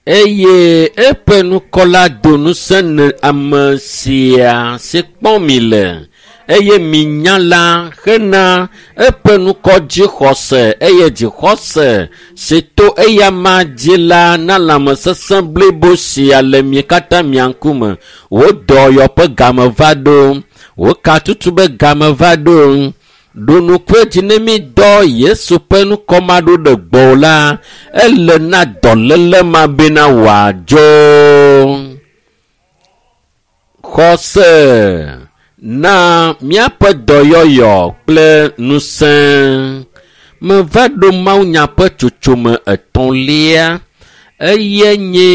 Eye eƒe ŋkɔ la do ŋusẽ ne ame sia si kpɔm mi le eye minya la hena eƒe ŋkɔ dzixɔse eye dzixɔse si to eyama dzi la na lãmesesẽ blibo sia le mi katã mia ŋkume. Wò dɔyɔ ƒe game va ɖo, wò katutu be game va ɖo. Ɖo ŋku edzi ne mi dɔ Yesu ƒe ŋkɔ ma ɖo ɖe gbɔwò la, ele na dɔléle ma bena wòadzo. Xɔse na míaƒe dɔyɔyɔ kple ŋusẽ. Meva ɖo mawunya ƒe tsotsome etɔ̃lia eye nye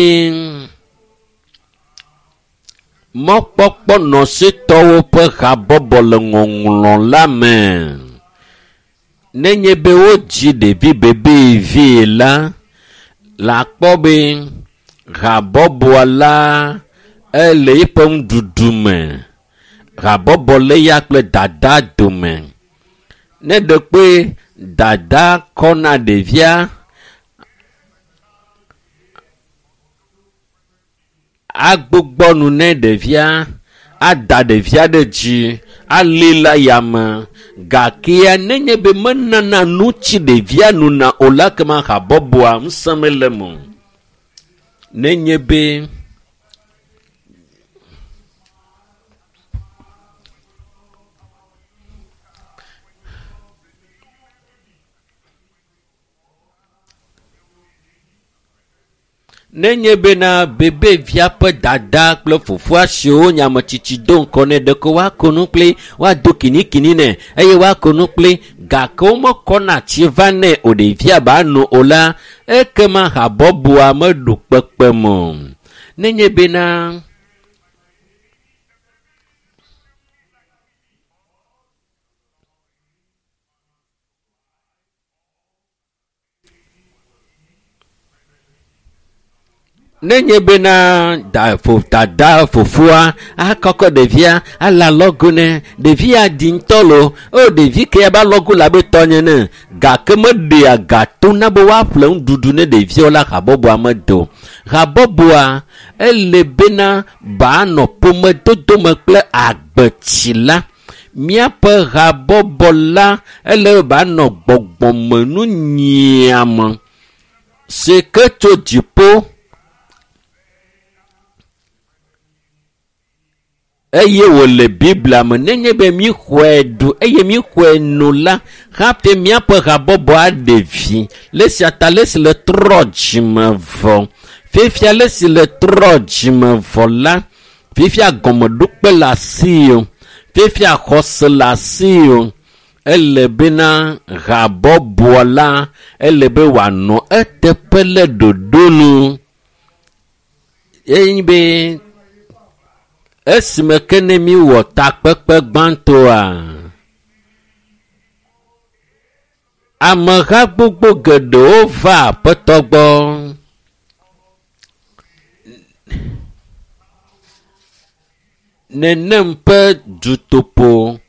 mɔkpɔkpɔ nɔsitɔwo ƒe habɔbɔ le ŋɔŋlɔ la me. Nenye be wodzi ɖevi bebevi la, le akpɔ be habɔbɔa la ele eƒe nuɖuɖu me. Habɔbɔ le ya kple dada dome. Ne ɖe kpe dada kɔna ɖevia, agbugbɔ nu ne ɖevia, ada ɖevia ɖe dzi, ali le yame. Gakea nenye be menana nu tsi ɖevia nuna o la kema habɔbɔa ŋusẽ mele eme o. Nenye be nenye bena bebevia ƒe dada kple fofoa siwo nye ametsitsi do ŋkɔ nɛ ɖeko woako nu kpli woado kinikini nɛ eye woako nu kpli gake womekɔna tsi va nɛ o ɖevia ba no o la ekema habɔbɔa meɖo kpekpe me o. Nenye bena nenye bena da fo dada fofoa akɔkɔ ɖevia ale alɔgo nɛ ɖevia di ŋutɔ lo o ɖevi ke be alɔgo le abe tɔnye ne gake meɖea ga to na be woaƒle nuɖuɖu ne ɖeviawo la habɔbɔa medo habɔbɔa ele bena banɔ ƒomedodo me kple agbetsi la míaƒe habɔbɔ la ele be banɔ gbɔgbɔmenu nyiame si ke tso dziƒo eye wòle biblia me nenye be míxɔe ɖu eye míxɔe no la hafi míaƒe habɔbɔ aɖe vi le sia ta le si le trɔ dzime vɔ fifia le si le trɔ dzime vɔ la fifia gɔmeɖokpe le asi o fifia xɔse le asi o ele bena habɔbɔ la ele be wòanɔ eteƒe le ɖoɖo nu eye be esime ke ne míwɔ takpekpe gbãtɔa ameha gbogbo geɖewo va aƒetɔ gbɔ nenem ƒe dutoƒo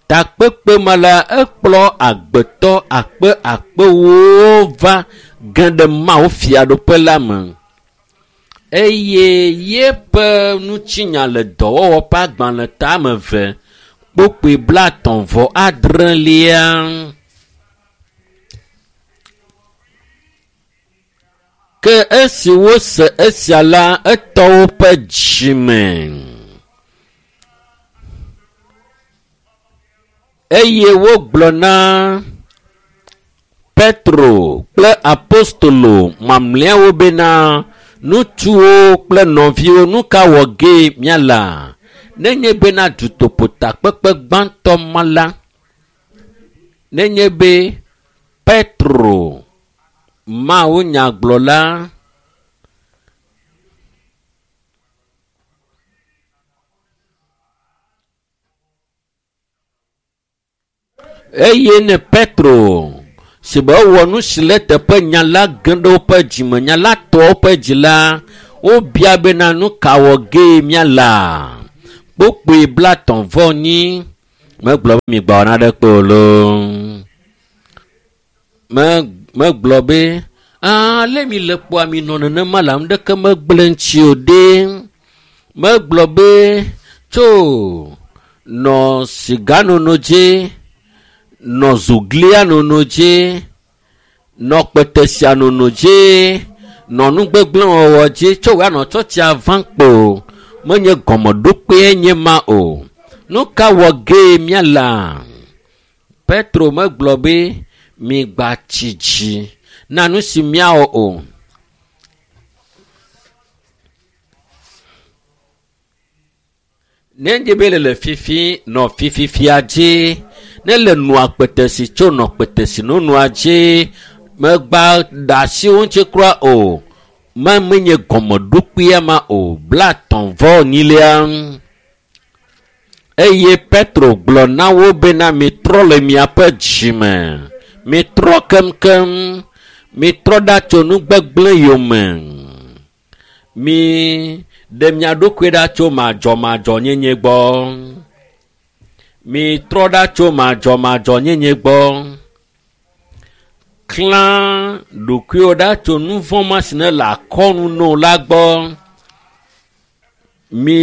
takpekpe ma la ekplɔ agbetɔ akpe akpewo va ge ɖe Mawu fiaɖuƒe la me eye yeƒe ŋutinya le dɔwɔwɔ ƒe agbalẽ tame eve kpokpoe blaetɔ̃ vɔ adrelia. Ke esi wose esia la etɔ woƒe dzime eye wogblɔ na Petro kple apostolo mamlɛawo bena ŋutsuwo kple nɔviwo nu ka wɔ gee míala nenye bena dutoƒo takpekpe gbãtɔ ma la nenye be Petro Mawu nyagblɔla eye ne Petro si be ewɔ nu si le teƒe nya la ge ɖe woƒe dzime nya la tɔ woƒe dzi la wobia bena nu ka wɔ gee míala kpokpoe blaetɔ̃ vɔ nyi megblɔ be migbɔ naɖe kpe o loo. Megblɔ be Ale mi le kpɔa mi nɔ nenema le ame ɖeke megblẽ ŋuti o ɖe. Megblɔ be tso nɔ siganono dzi, nɔ zoglia nono dzi, nɔ kpetesia nono dzi, nɔ nugbegblẽwɔwɔ dzi tso wòanɔ tsɔtsia vam kpo. Menye gɔmeɖokpee nye ma o. Nu ka wɔ gee míala? Petro megblɔ be migbatsi dzi na nu si míawɔ o. Ne nye be le le fifi nɔ fififia dzi, ne le nua kpetesi tso nɔ kpetesi nonua dzi, megba ɖe asi wo ŋuti kura o. Ma menye gɔmeɖokpea ma o. 32. Eye Petro gblɔ na wo bena mitrɔ le miaƒe dzime. Mitrɔ keŋkeŋ. Mitrɔ ɖa tso nugbegblẽ yome. Mi ɖe mia ɖokui ɖa tso madzɔmadzɔnyenye gbɔ. Mitrɔ ɖa tso madzɔmadzɔnyenye gbɔ. Klã ɖokuiwò ɖa tso nu vɔ̃ ma si ne le akɔnu no la gbɔ. Mi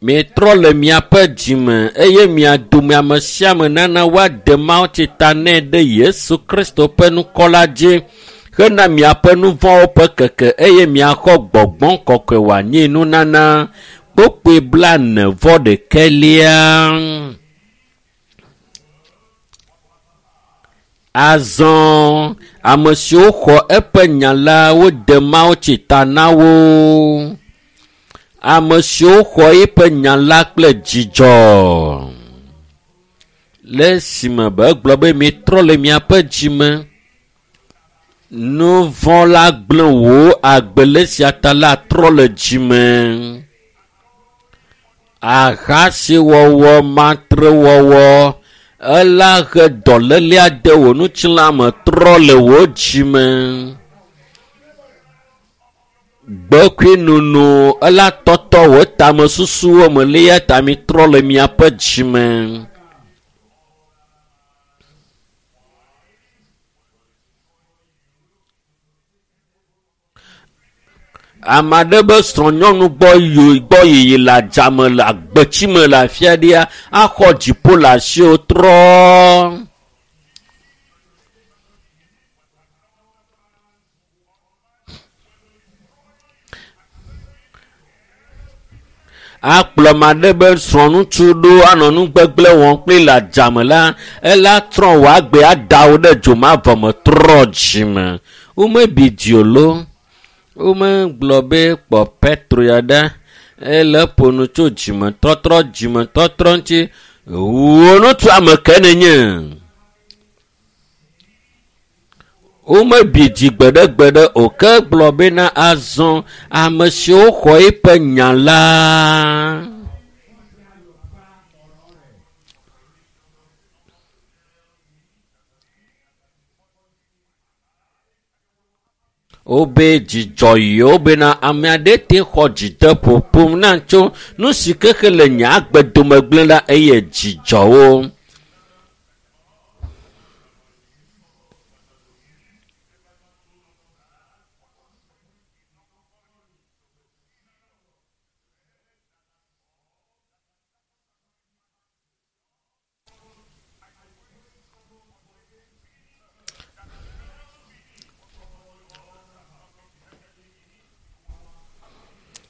Mitrɔ le miaƒe dzime eye mia dome ame sia ame nana woade mawutsi ta nɛ ɖe Yesu Kristo ƒe ŋkɔ la dzi hena miaƒe nu vɔ̃wo ƒe keke eye miaxɔ gbɔgbɔ kɔkɔe wòanyi nunana. Kpokpoe 41. Azɔ ame siwo xɔ eƒe nya la wode mawutsi ta na wo. Ame siwo xɔ eƒe nya la kple dzidzɔ. Le esime be egblɔ be mitrɔ le miaƒe dzime. Nu vɔ̃ la gblẽ wò agbe le esia ta la trɔ le dzime. Ahasiwɔwɔ, matrewɔwɔ, ela he dɔlélea de wò ŋutilã me trɔ le wò dzime. Gbekui nono ela tɔtɔ wò tamesusuwo me le eya ta mitrɔ le miaƒe dzime. Ame aɖe be srɔ̃nyɔnu gbɔ gbɔ yiyi le adzame le agbetsime le afi aɖea axɔ dziƒo le asiwò trɔ. Akplɔ ame aɖe be srɔ̃ŋutsu ɖo anɔ nu gbegblẽ wɔm kpli le adzame la, ela trɔ wò agbe ada wò ɖe dzomavɔ me trɔ dzime. Womebi dzi o lo. Womegblɔ be kpɔ Petro ya ɖa ele ƒo nu tso dzimetɔtrɔ dzimetɔtrɔ ŋuti. Wò ŋutsu ame ke nenye. Womebi dzi gbeɖegbeɖe o ke gblɔ bena azɔ ame siwo xɔ eƒe nya la. Wobe dzidzɔ yewo bena ame aɖe te xɔ dzideƒo ƒom na tso nu si kexe le nye agbe dome gblẽ la eye dzidzɔ wo.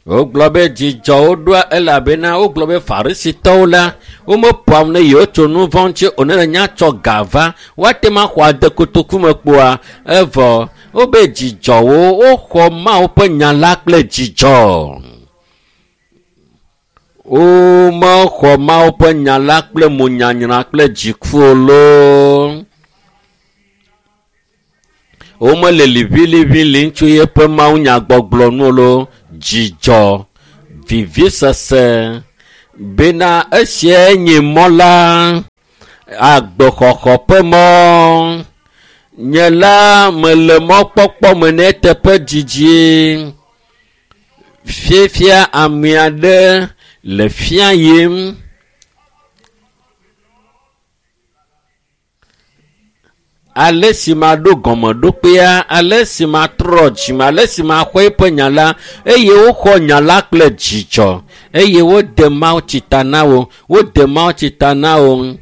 Wogblɔ be dzidzɔwo ɖoa elabena wogblɔ be farisitɔwo la womeƒoa nu ne yewo tso nu vɔ̃ ŋuti o ne le nya tsɔ ga va woate ŋu axɔ ade kotoku me kpoa evɔ wobe dzidzɔwo woxɔ Mawu ƒe nya la kple dzidzɔ. Womexɔ Mawu ƒe nya la kple monyanyra kple dziku o loo. Womele liʋiliʋi tso yeƒe mawunyagbɔgblɔ nu o loo. Dzidzɔ, vivisese bena esiae nye mɔ la, agbexɔxɔ ƒe mɔ. Nye la mele mɔkpɔkpɔ me ne eteƒe dzidzi. Fifia ame aɖe le fia yim. Ale si maɖo gɔmeɖokpea, ale si matrɔ dzime, ale si maxɔ eƒe nya la, eye woxɔ nya la kple dzidzɔ, eye wode mawutsi ta na wo, wode mawutsi ta na wo.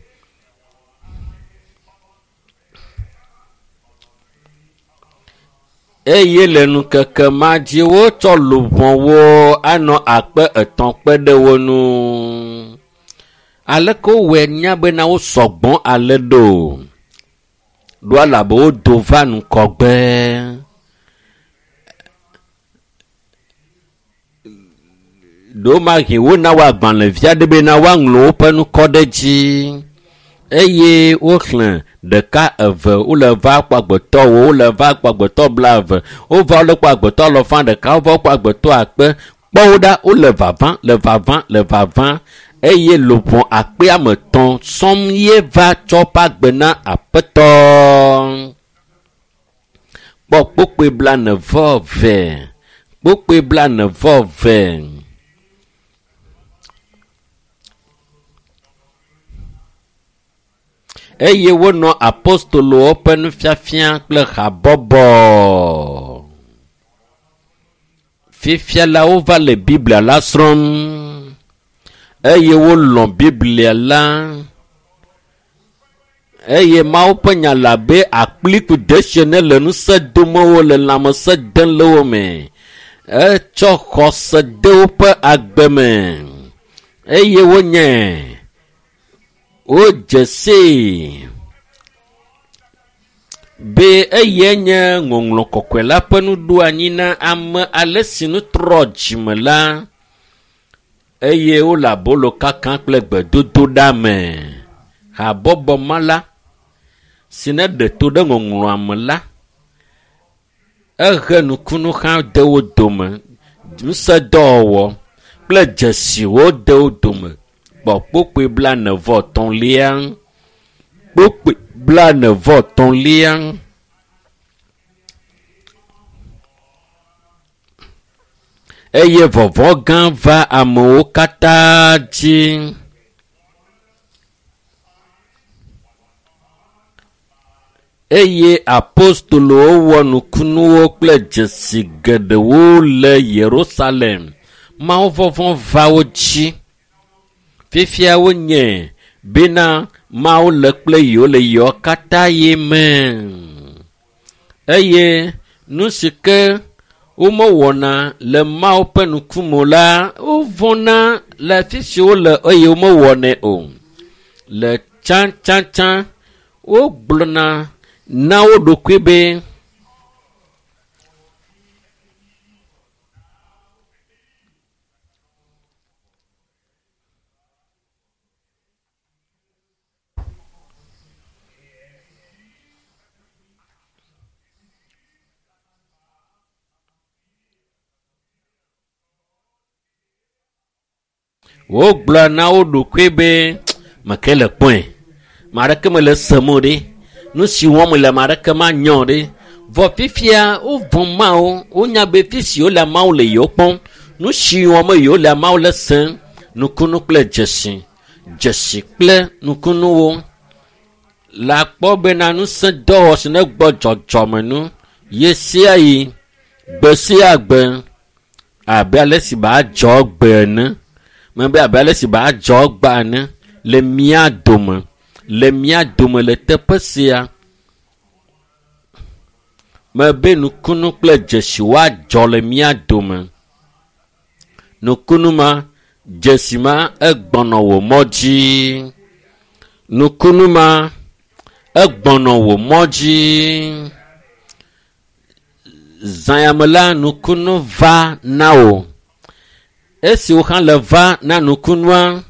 Eye le ŋkeke ma dzi wotsɔ luʋɔwo anɔ 300 kpe ɖe wo ŋu. Aleke wowɔe nya bena wo sɔgbɔ ale ɖo? Ɖo elabe wodo va ŋgɔgbe. Ɖewomahi wona wo agbalẽvi aɖe bena woaŋlɔ woƒe ŋkɔ ɖe dzi. Eye woxlẽ 1, 2, wole va kpɔ agbetɔ 4, wole va kpɔ agbetɔ 20, wova wole kpɔ agbetɔ 1.5, wova kpɔ agbetɔ 100. Kpɔ wo ɖa, wole vava, le vava, le vava. Eye luʋɔ 3,000 sɔŋ ye va tsɔ ƒe agbe na Aƒetɔ. Kpɔ kpokpoe 42, kpokpoe 42. Eye wonɔ apostolowo ƒe nufiafia kple habɔbɔ. Fifia la wova le Biblia la srɔ̃m eye wolɔ̃ Biblia la. Eye Mawu ƒe nya le abe akpliku desie ne le ŋusẽ dome wo le lãmesẽ dem le wo me. Etsɔ xɔse de woƒe agbe me eye wonye wodze sii be eye nye ŋɔŋlɔ kɔkɔe la ƒe nuɖoanyi na ame ale si nu trɔ dzime la, eye wole abolo kaka kple gbedodoɖa me. Habɔbɔ ma la si ne ɖe to ɖe ŋɔŋlɔa me la, ehe nukunu hã de wo dome, ŋusẽdɔwɔwɔ kple dzesiwo de wo dome. Kpɔ kpokpoe 43, kpokpoe 43. Eye vɔvɔ̃ gã va amewo katã dzi. Eye apostolowo wɔ nukunuwo kple dzesi geɖewo le Yerusalem. Mawu vɔvɔ̃ va wo dzi. Fifia wonye bena Mawu le kple yewo le yewo katã ye me. Eye nu si ke womewɔna le Mawu ƒe ŋkume la, wovɔ̃na le afi si wole eye womewɔnɛ o. Le tsãtsãtsã wogblɔna na wo ɖokui be wogblɔ na wo ɖokui be meke le kpɔe, ame aɖeke mele sem o ɖe, nu si wɔm le ame aɖeke manya o ɖe. Vɔ fifia wovɔ̃ Mawu, wonya be fi si wole Mawu le yewo kpɔm, nu si wɔm yewo le Mawu le sem, nukunu kple dzesi, dzesi kple nukunuwo. Le akpɔ bena ŋusẽ dɔwɔ si ne gbɔ dzɔdzɔme nu ye sia yi, gbe sia gbe, abe ale si ba dzɔ gbe ene. Mebe abe ale si ba dzɔ gbe ene le mía dome, le mía dome le teƒe sia. Mebe nukunu kple dzesi woadzɔ le mía dome. Nukunu ma, dzesi ma egbɔnɔ wò mɔ dzi. Nukunu ma egbɔnɔ wò mɔ dzi. Zãyame la nukunu va na wò. Esi wò hã le va na nukunua,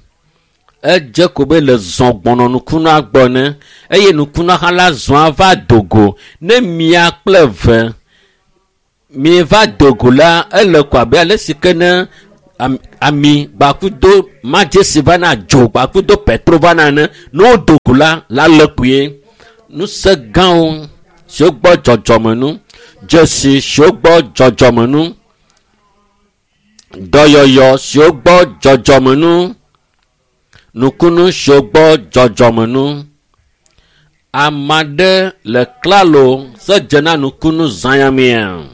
edze ko be le zɔ gbɔnɔ nukunua gbɔ ne, eye nukunua hã la zɔa va dogo. Ne mia kple ve mieva dogo la, ele ko abe ale si ke ne ami gbakudo madzesi va na dzo gbakudo petro va na ene. Ne wo dogo la, la le kpuie. Ŋusẽ gãwo siwo gbɔ dzɔdzɔme nu, dzesi siwo gbɔ dzɔdzɔme nu, dɔyɔyɔ siwo gbɔ dzɔdzɔme nu, nukunu siwo gbɔ dzɔdzɔme nu. Ame aɖe le klalo se dze na nukunu zãyamea.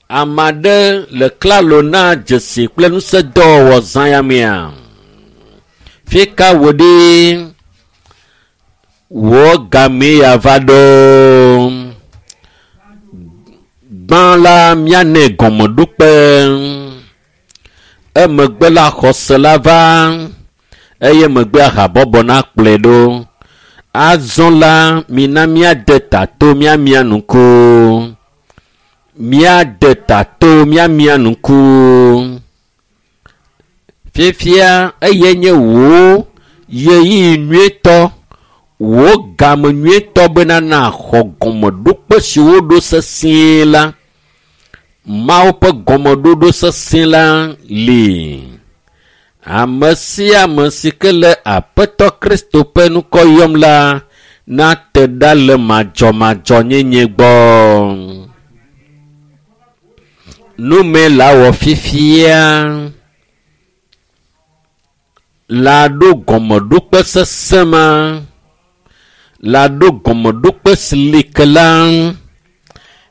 Ame aɖe le klalo na dzesi kple ŋusẽdɔwɔwɔ zãyamea. Fi ka wò ɖi? Wò gamee ya va ɖo. Gbã la míanɛ gɔmeɖokpe. Emegbe la xɔse la va eye megbea habɔbɔ nakplɔe ɖo. Azɔ la mina míade ta to míamia ŋku. Míade ta to míamia ŋku. Fifia eye nye wò ɣeyiɣi nyuietɔ, wò game nyuietɔ bena nàxɔ gɔmeɖokpe si woɖo sesĩe la. Mawu ƒe gɔmeɖoɖo sesẽ la li. Ame sia ame si ke le Aƒetɔ Kristo ƒe ŋkɔ yɔm la nate ɖa le madzɔmadzɔnyenye gbɔ. Nume la wɔ fifia la ɖo gɔmeɖokpe sesẽ ma, la ɖo gɔmeɖokpe si li ke la,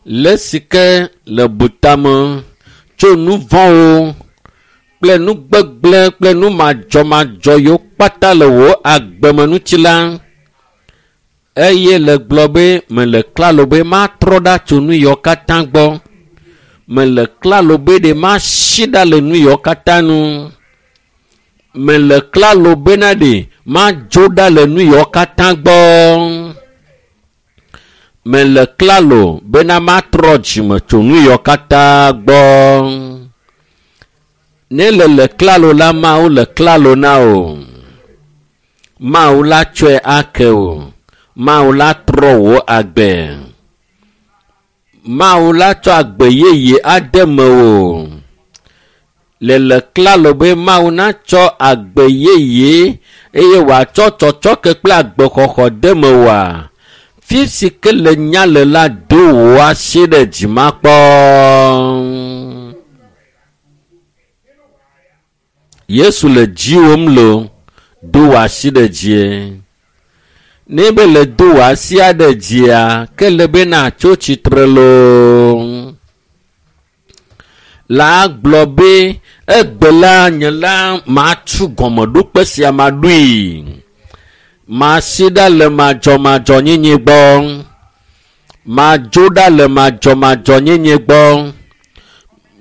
le si ke le butame tso nu vɔ̃wo kple nu gbegblẽ kple nu madzɔmadzɔ yiwo kpata le wò agbeme ŋuti la, eye le gblɔ be mele klalo be matrɔ ɖa tso nu yiwo katã gbɔ. Mele klalo be ɖe masi ɖa le nu yiwo katã nu. Mele klalo bena ɖe madzo ɖa le nu yiwo katã gbɔ. Mele klalo bena matrɔ dzime tso nu yiwo katã gbɔ. Ne le le klalo la, Mawu le klalo na wò. Mawu la tsɔe ake wò. Mawu la trɔ wò agbe. Mawu la tsɔ agbe yeye ade mewò. Le le klalo be Mawu natsɔ agbe yeye eye wòatsɔ tsɔtsɔke kple agbexɔxɔ de mewòa? Fi si ke le nya le la, do wò asi ɖe dzi makpɔ. Yesu le dziwòm lo, do wò asi ɖe dzie. Ne be le do wò asia ɖe dzia, ke le be natso tsitre loo. La gblɔ be, egbe la nye la matu gɔmeɖokpe sia maɖoe. Masi ɖa le madzɔmadzɔnyenye gbɔ. Madzo ɖa le madzɔmadzɔnyenye gbɔ.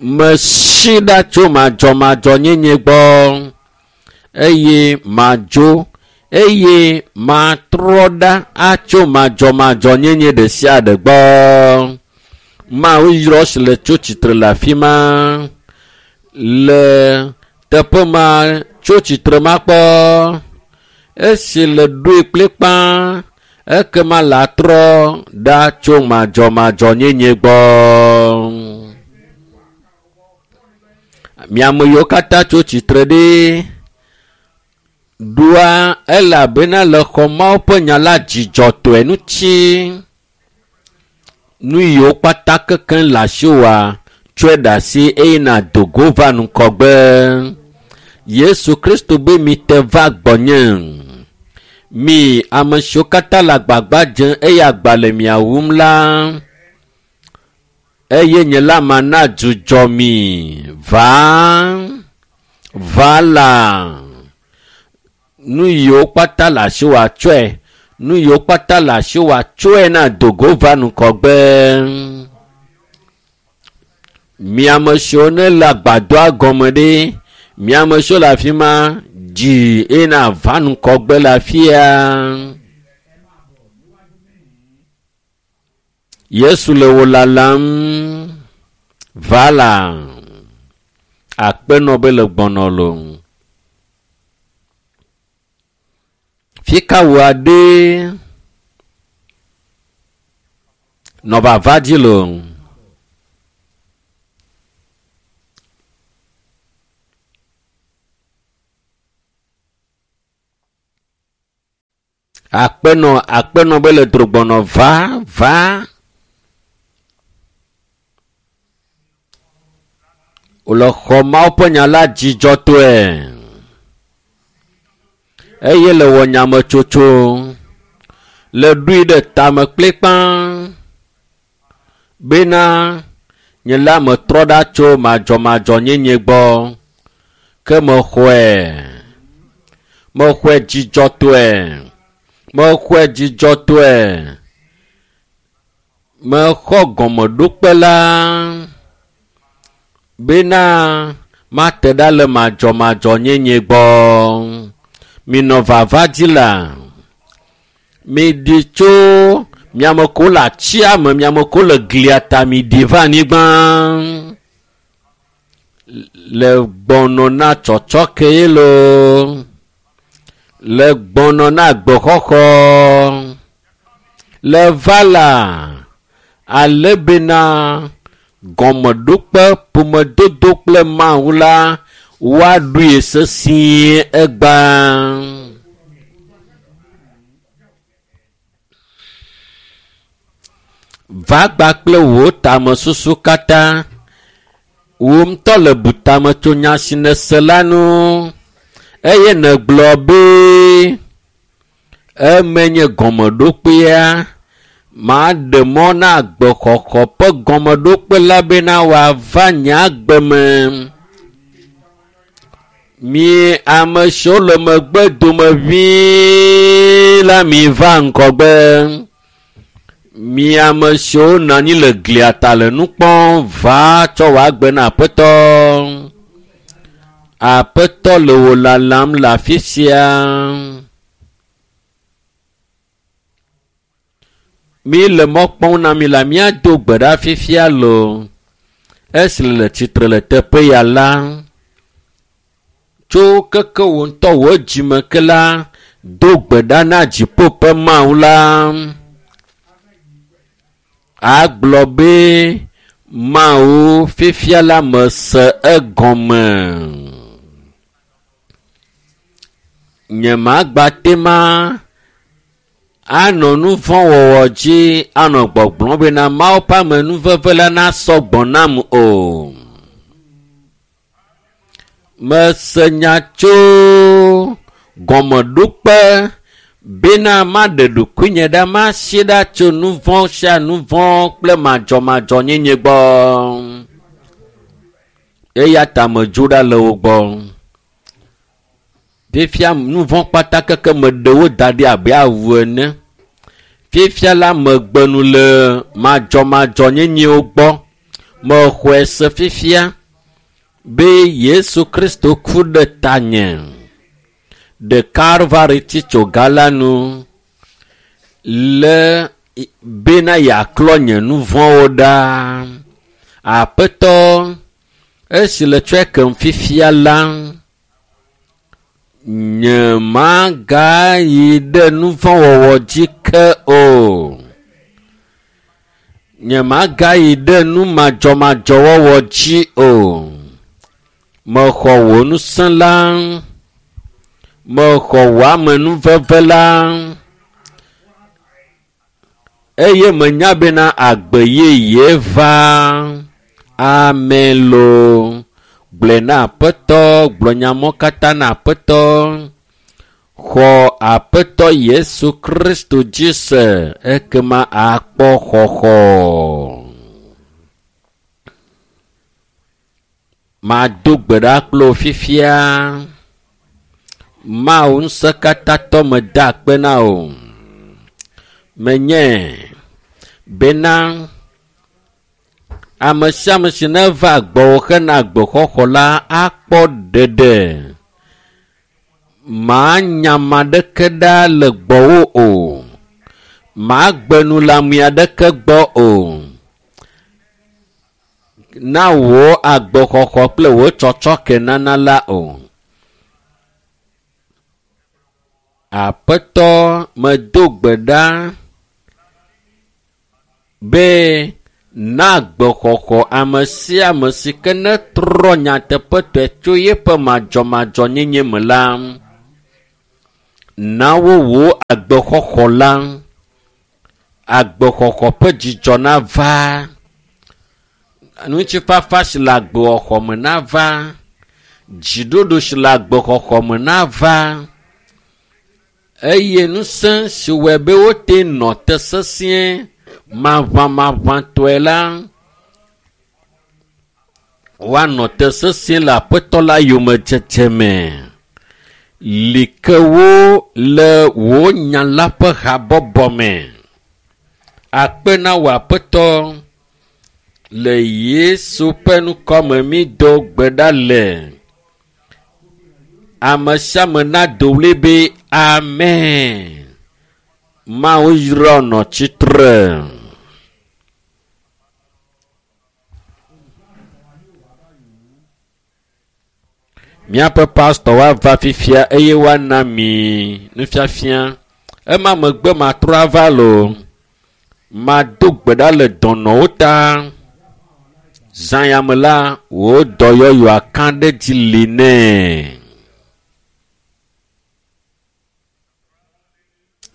Mesi ɖa tso madzɔmadzɔnyenye gbɔ. Eye madzo eye matrɔ ɖa atso madzɔmadzɔnyenye ɖe sia ɖe gbɔ. Mawu yrɔ si le tso tsitre le afi ma. Le teƒe ma tso tsitre makpɔ. Esi le ɖoe kplikpaa ekema la trɔ ɖa tso madzɔmadzɔnyenye gbɔ. Miame yiwo katã tso tsitre ɖi ɖoa elabena le xɔ Mawu ƒe nya la dzidzɔtɔe ŋuti. Nu yiwo kpata kekeŋ le asiwòa, tsɔe ɖe asi eye nàdo go va ŋgɔgbe. Yesu Kristo be mite va gbɔnye. Mi ame siwo katã le agbagba dzem eye agba le mia wum la, eye nye la mana dzudzɔ mi. Va, va la. Nu yiwo kpata le asiwòa tsɔe. Nu yiwo kpata le asiwòa tsɔe na dogo va ŋgɔgbe. Mi ame siwo ne le agbadɔa gɔme ɖe, mi ame siwo le afi ma, dzi eye nava ŋgɔgbe le afia. Yesu le wò lalam. Va la. Akpe nɔ be le gbɔnɔ lo. Fika wò aɖe nɔ vava dzi lo. Akpenɔ akpenɔ be le drogbɔnɔ va va. Wòle xɔ Mawu ƒe nya la dzidzɔtɔe eye le wɔ nyametsotso le ɖoe ɖe tame kplikpa bena nye la metrɔ ɖa tso madzɔmadzɔnyenye gbɔ ke mexɔe mexɔe dzidzɔtɔe mexɔe dzidzɔtɔe mexɔ gɔmeɖokpe la bena mate ɖa le madzɔmadzɔnyenye gbɔ. Minɔ vava dzi la. Miɖi tso miame ko le atsia me, miame ko le glia ta, miɖi va anyigba. Le gbɔnɔ na tsɔtsɔke ye loo. Le gbɔnɔ na gbexɔxɔ. Le va la, ale bena gɔmeɖokpe ƒomedodo kple Mawu la woaɖoe sesĩe egbea. Va gba kple wò tamesusu katã. Wò ŋutɔ le bu tame tso nya si nèse la ŋu eye nègblɔ be eme nye gɔmeɖokpea. Maɖe mɔ na agbexɔxɔ ƒe gɔmeɖokpe la bena wòava nye agbe me. Mi ame siwo le megbe dome ʋĩi la miva ŋgɔgbe. Mi ame siwo nɔ anyi le glia ta le nu kpɔm va tsɔ wò agbe na Aƒetɔ. Aƒetɔ le wò lalam le afi sia. Mi le mɔ kpɔm na mi la míado gbe ɖa fifia loo. Esi le tsitre le teƒe ya la, tso keke wò ŋutɔ wò dzime ke la, do gbe ɖa na dziƒo ƒe Mawu la. Agblɔ be Mawu fifia la mese egɔme. Nyemagbate ma anɔ nu vɔ̃ wɔwɔ dzi anɔ gbɔgblɔm bena Mawu ƒe amenuveve la nasɔ gbɔ nam o. Mese nya tso gɔmeɖokpe bena maɖe ɖokuinye ɖa masi ɖa tso nu vɔ̃ sia nu vɔ̃ kple madzɔmadzɔnyenye gbɔ. Eya ta medzo ɖa le wo gbɔ. Fifia nu vɔ̃ kpata keke meɖe wo da ɖi abe awu ene. Fifia la megbe nu le madzɔmadzɔnyenyewo gbɔ. Mexɔe se fifia be Yesu Kristo ku ɖe tanye ɖe Kalvari titsoga la nu le bena yeaklɔ nye nu vɔ̃wo ɖa. Aƒetɔ, esi le tsɔe kem fifia la, nyemagayi ɖe nu vɔ̃ wɔwɔ dzi ke o. Nyemagayi ɖe nu madzɔmadzɔwɔwɔ dzi o. Mexɔ wò ŋusẽ la, mexɔ wò amenuveve la, eye menya bena agbe yeye va. Amen loo. Gblɔe na Aƒetɔ, gblɔ nya mɔ katã na Aƒetɔ. Xɔ Aƒetɔ Yesu Kristo dzi se, ekema akpɔ xɔxɔ. Mado gbe ɖa kple wò fifia. Mawu ŋusẽkatãtɔ meda akpe na wò. Menye bena ame sia ame si neva gbɔwò hena agbexɔxɔ la akpɔ ɖeɖe. Manya ame aɖeke ɖa le gbɔwò o. Magbe nu le ame aɖeke gbɔ o. Na wò agbexɔxɔ kple wò tsɔtsɔke nana la o. Aƒetɔ medo gbe ɖa be na agbexɔxɔ ame sia ame si ke netrɔ nyateƒetɔe tso yeƒe madzɔmadzɔnyenye me la. Na wo wò agbexɔxɔ la. Agbexɔxɔ ƒe dzidzɔ nava. Ŋutifafa si le agbexɔxɔ me nava. Dziɖoɖo si le agbexɔxɔ me nava. Eye ŋusẽ si wɔe be wote nɔ te sesĩe maʋamaʋãtɔe la, woanɔ te sesĩe le Aƒetɔ la yomedzedze me. Li ke wo le wò nya la ƒe habɔbɔ me. Akpe na wò Aƒetɔ le Yesu ƒe ŋkɔ me mído gbe ɖa le. Ame sia ame nado ɣli be amen. Mawu yra nɔ tsitre. Míaƒe pastɔ woava fifia eye woana mi nufiafia. Ema megbe matrɔ ava loo. Mado gbe ɖa le dɔnɔwo ta. Zã ya me la, wò dɔyɔyɔa ka ɖe dzi li nɛ.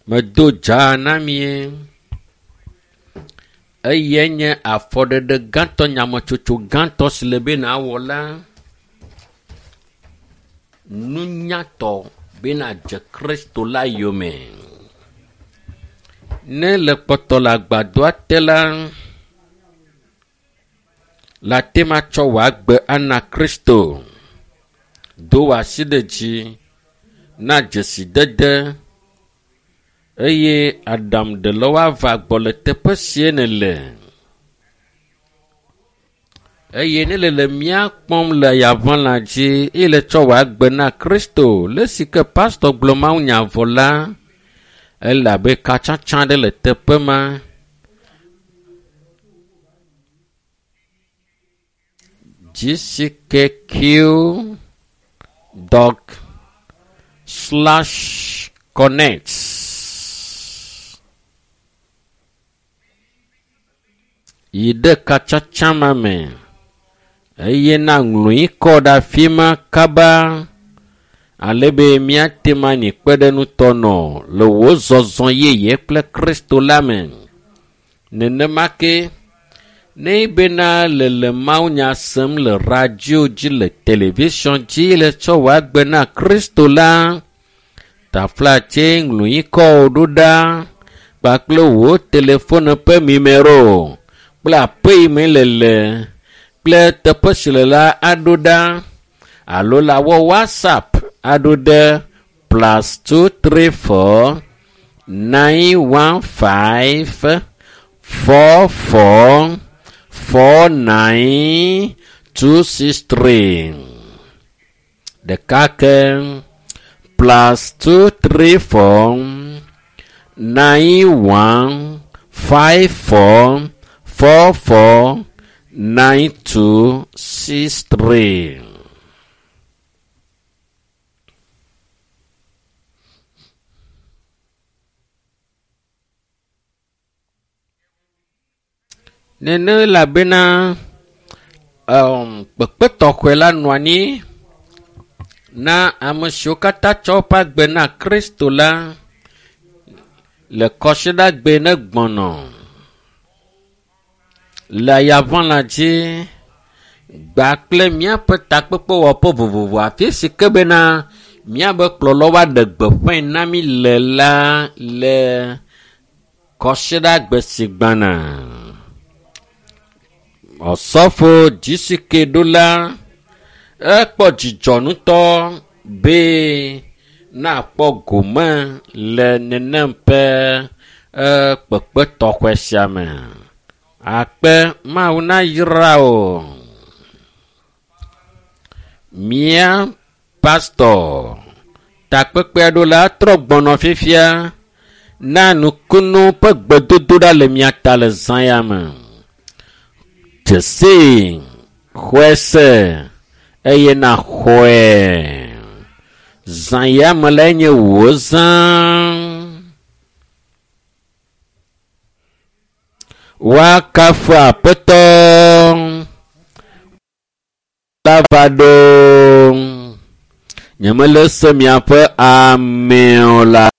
Medo dza na mie. Eyae nye afɔɖeɖe gãtɔ, nyametsotso gãtɔ si le be nawɔ la. Nunyatɔ be nadze Kristo la yome. Ne le kpɔtɔ le agbadɔa te la, la te matsɔ wò agbe ana Kristo. Do wò asi ɖe dzi na dzesidede eye aɖaŋuɖelawo ava gbɔ le teƒe sie nèle. Eye ne le le mía kpɔm le yaʋalã dzi eye le tsɔ wò agbe na Kristo, le si ke pastɔ gblɔ mawunya vɔ la, ele abe katsatsa ɖe le teƒe ma. gckq dot slash connect. Yi ɖe katsatsa ma me eye na ŋlɔ kɔ ɖe afi ma kaba ale be míate ŋu anyi kpeɖeŋutɔ nɔ le wò zɔzɔ yeye kple Kristo la me. Nenema ke ne bena le le mawunya sem le radio dzi le television dzi le tsɔ wò agbe na Kristo la, taflatse ŋlɔ kɔ ɖo ɖa kpakple wò telefone ƒe numero kple aƒe yi me le le kple teƒe si le la aɖo ɖa alo la wɔ WhatsApp aɖo ɖe +234 915 44 49 263. Ɖeka ke +234 91 54 44 92 63. Nene elabena kpekpe tɔxɛ la nɔ anyi na ame siwo katã tsɔ woƒe agbe na Kristo la le kɔsiɖagbe ne gbɔnɔ le yaʋalã dzi gba kple míaƒe takpekpewɔƒe vovovo afi si ke bena míabe kplɔlawo aɖe gbeƒãe na mí le la le kɔsiɖagbe si gbɔna. Ɔsɔfo GCK ɖola ekpɔ dzidzɔ ŋutɔ be nakpɔ gome le nenem ƒe kpekpe tɔxɛ sia me. Akpe Mawu nayra wò. Mía pastɔ takpekpea ɖola trɔ gbɔnɔ fifia na nukunu ƒe gbedodoɖa le mia ta le zã ya me. Dzesi, xɔe se eye naxɔe. Zã ya me lae nye wò zã. Woakafu Aƒetɔ la va ɖo. Nyemele se miaƒe amewo la.